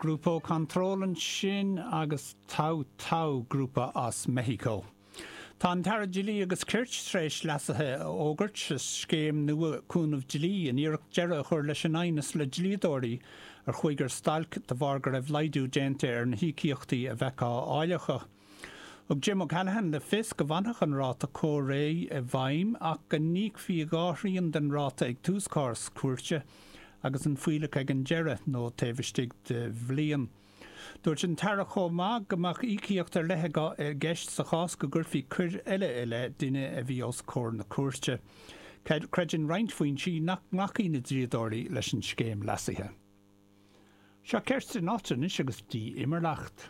Grupo Control ansin agus Tau Tau, grúpa as Meicsiceo. Tá an tAire Dlí agus Cirt tar éis leasuithe a fhógairt sa scéim nua cúnamh dlí in iarracht deireadh a chur leis an aighneas le dlíodóirí a chuaigh ar stailc de bharr go raibh laghdú déanta ar na híocaíochtaí a bheadh á fháil acu. Thug Jim O'Callaghan le fios go bhfanfadh an ráta comhréidh i bhfeidhm ach go n-íocfaí 2 thrian den ráta ag tús cás cúirte agus an fuílleach ag an deireadh, nó taobh istigh de bhliain. Dúirt an tAire chomh maith go mbeadh íocaíocht ar leith i gceist sa chás go gcuirfí coir eile i leith duine a bhí os comhair na cúirte. Creideann roinnt foinsí nach nglacfaidh na dlíodóirí leis an scéim leasaithe. Seo Kerstin Ott anois agus Die Immernacht.